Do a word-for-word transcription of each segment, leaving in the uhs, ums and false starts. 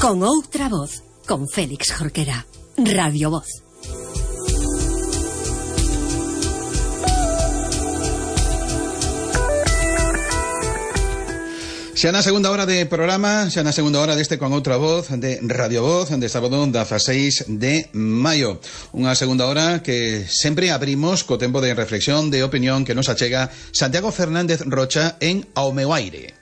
Con outra voz, con Félix Jorquera. Radio Voz. Xa na segunda hora de programa, xa na segunda hora deste Con Outra Voz de Radio Voz, de sábado dieciséis de maio. Unha segunda hora que sempre abrimos co tempo de reflexión, de opinión que nos achega Santiago Fernández Rocha en Ao meu aire.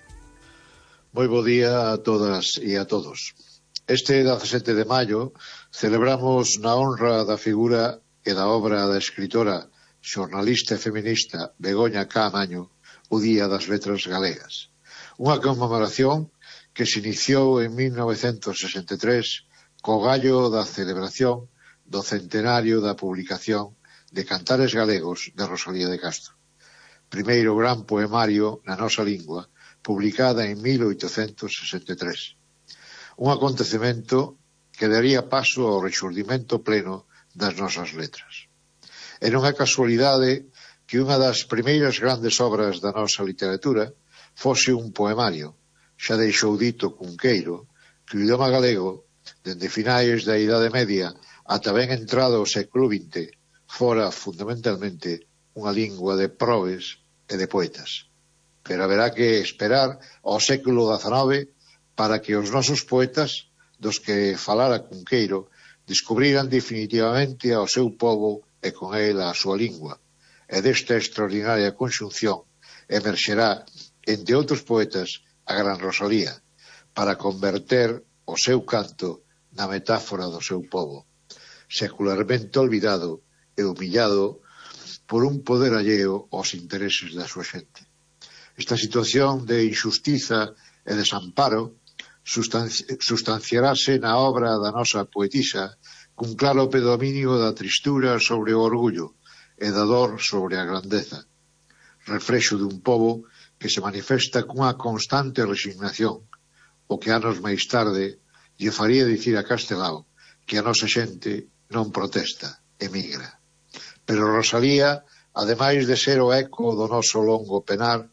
Moi bo día a todas e a todos. Este dezasete de maio celebramos na honra da figura e da obra da escritora, xornalista e feminista Begoña Caamaño o Día das Letras Galegas. Unha conmemoración que se iniciou en mil novecentos sesenta e tres co gallo da celebración do centenario da publicación de Cantares Galegos de Rosalía de Castro, primeiro gran poemario na nosa lingua, publicada en mil oitocentos sesenta e tres. Un acontecemento que daría paso ao rexurdimento pleno das nosas letras. E non é casualidade que unha das primeiras grandes obras da nosa literatura fose un poemario. Xa deixou dito Cunqueiro que o idioma galego, dende finais da Idade Media ata ben entrado o século vinte, fora fundamentalmente unha lingua de probes e de poetas. Pero haberá que esperar ao século dezanove para que os nosos poetas, dos que falara Cunqueiro, descubriran definitivamente ao seu povo e con el a súa lingua. E desta extraordinaria conxunción emerxerá, entre outros poetas, a gran Rosalía, para converter o seu canto na metáfora do seu povo, secularmente olvidado e humillado por un poder alleo aos intereses da súa xente. Esta situación de injustiza e desamparo sustanci sustanciarase na obra da nosa poetisa cun claro predominio da tristura sobre o orgullo e da dor sobre a grandeza, reflexo dun povo que se manifesta cunha constante resignación, o que anos máis tarde lle faría dicir a Castelao que a nosa xente non protesta, emigra. Pero Rosalía, ademais de ser o eco do noso longo penar,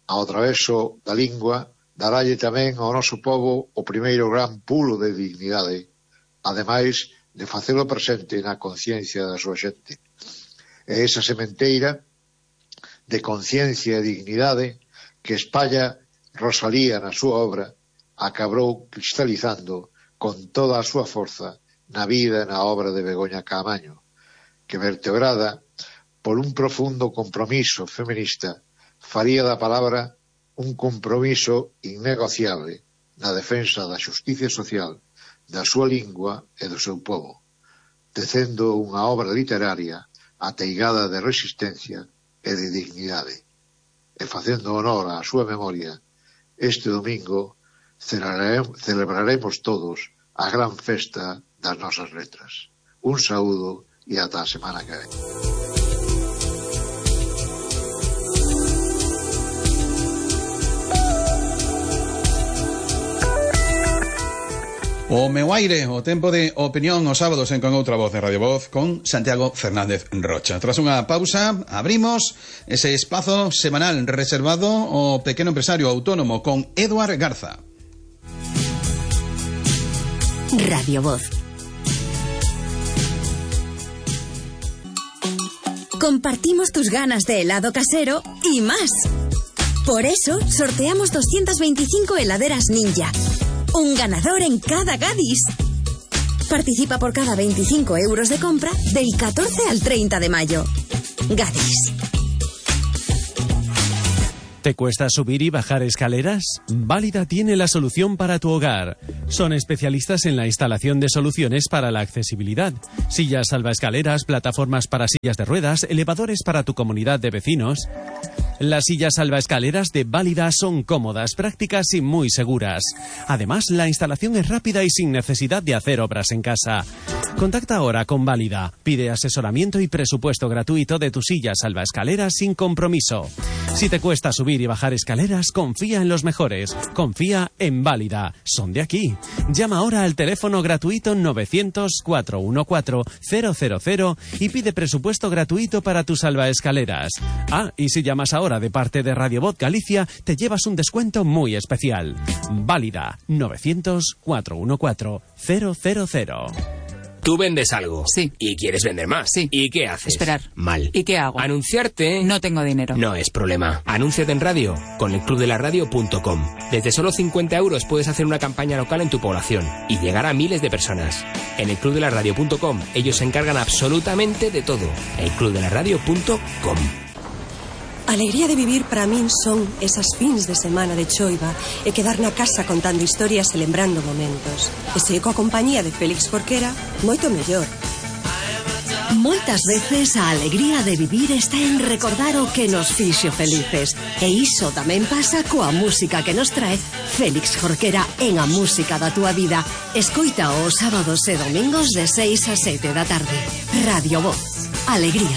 ao traveso da lingua, darálle tamén ao noso povo o primeiro gran pulo de dignidade, ademais de facelo presente na conciencia da súa xente. E esa sementeira de conciencia e dignidade que espalla Rosalía na súa obra acabou cristalizando con toda a súa forza na vida e na obra de Begoña Caamaño, que vertebrada por un profundo compromiso feminista faría da palabra un compromiso innegociable na defensa da xusticia social, da súa lingua e do seu povo, tecendo unha obra literaria ateigada de resistencia e de dignidade. E facendo honor á súa memoria, este domingo celebraremos todos a gran festa das nosas letras. Un saúdo e ata a semana que ven. O meu aire, o tempo de opinión os sábados en Con Outra Voz de Radio Voz con Santiago Fernández Rocha. Tras unha pausa, abrimos ese espazo semanal reservado ao pequeno empresario autónomo con Eduard Garza. Radio Voz. Compartimos tus ganas de helado casero y más. Por eso sorteamos doscientas veinticinco heladeras Ninja. Un ganador en cada Gadis. Participa por cada veinticinco euros de compra del catorce al treinta de mayo. Gadis. ¿Te cuesta subir y bajar escaleras? Válida tiene la solución para tu hogar. Son especialistas en la instalación de soluciones para la accesibilidad. Sillas salvaescaleras, plataformas para sillas de ruedas, elevadores para tu comunidad de vecinos. Las sillas salvaescaleras de Válida son cómodas, prácticas y muy seguras. Además, la instalación es rápida y sin necesidad de hacer obras en casa. Contacta ahora con Válida. Pide asesoramiento y presupuesto gratuito de tu silla salvaescaleras sin compromiso. Si te cuesta subir y bajar escaleras, confía en los mejores. Confía en Válida. Son de aquí. Llama ahora al teléfono gratuito novecientos, cuatrocientos catorce, cero cero cero y pide presupuesto gratuito para tus salvaescaleras. Ah, y si llamas ahora ahora de parte de Radio Voz Galicia te llevas un descuento muy especial. Válida novecientos, cuatrocientos catorce, cero cero cero. Tú vendes algo. Sí. Y quieres vender más. Sí. ¿Y qué haces? Esperar. Mal. ¿Y qué hago? Anunciarte. No tengo dinero. No es problema. Anúnciate en radio con el club de la radio punto com. Desde solo cincuenta euros puedes hacer una campaña local en tu población y llegar a miles de personas. En el club de la radio punto com ellos se encargan absolutamente de todo. el club de la radio punto com. A alegría de vivir para min son esas fins de semana de choiva e quedar na casa contando historias e lembrando momentos. E se coa compañía de Félix Jorquera, moito mellor. Moitas veces a alegría de vivir está en recordar o que nos fixo felices. E iso tamén pasa coa música que nos trae Félix Jorquera en A Música da Túa Vida. Escoita os sábados e domingos de seis a sete da tarde. Radio Voz. Alegría.